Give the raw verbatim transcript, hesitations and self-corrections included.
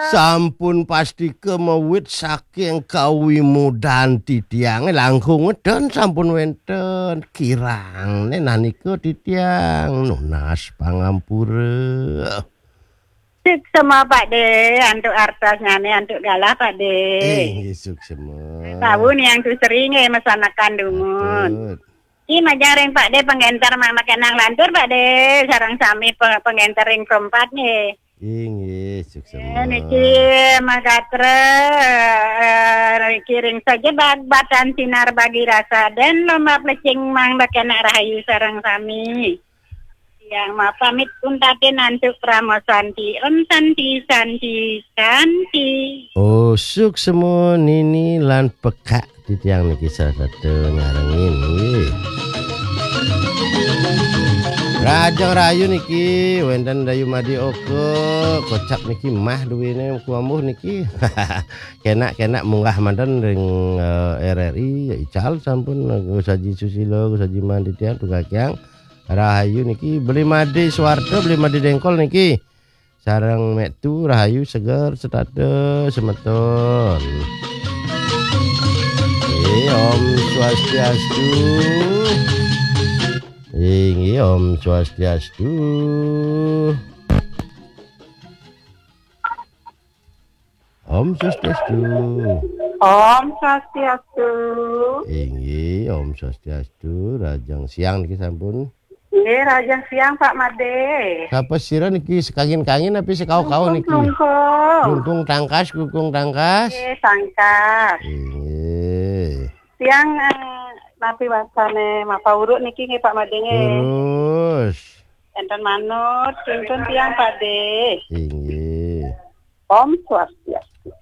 Sampun pastika mawit saking kawimudan titiange langkung ngeden sampun wenten kirang. Nek nanika titiang nunas pangampura. Suksema, Pak De, antuk artosnyane, antuk galah, Pak De. Inggih, suksema. Tahu nih yang tu sering, eh, masakan dumun. Patut. Ki majang ring Pak De pengenter mang makenang lantur, Pak De, sareng sami pe-, pengenter ring perempat nggih. Inggih, suksema. Eh, niki magatra, eh, niki ring saja bag-, batan sinar bagi rasa dan lomba plecing mang bakenak rahayu sareng sami. Yang mapamit pun tatin antuk Pramo Santi. Om Santi, Santi, Santi. Oh, suksema nini lan pekak titiang niki salah satu nyarengin nggih. Rajang Rayu niki wenten Dayu Madi Oka, kocap niki mah duwene kuambuh niki. Kenak-kenak munggah manten ring, eh, R R I, ya ical sampun, eh, Gus Haji Susilo, Gus Haji Mandi tiang, tunggal tiang. Rahayu niki, Beli Madi Suwarta, Beli Madi Dengkol niki. Sareng Mek Tu, rahayu seger setata semeton. Inggih, Om Swastiastu. Inggih, Om Swastiastu. Om Swastiastu. Om Swastiastu. Inggih, Om Swastiastu. Rajang siang niki sampun. Nggih, rajang siang, Pak Made. Sapa sira niki, sekangin-kangin api sekau-kau niki? Klungkung. Klungkung tangkas, klungkung tangkas. Nggih, tangkas. Inggih. Tiang, eh, napi wasane mapa uruk niki nggih, Pak Made nggih. Terus. Enten manut, tuntun tiang, Pak De. Inggih. Om Swastiastu.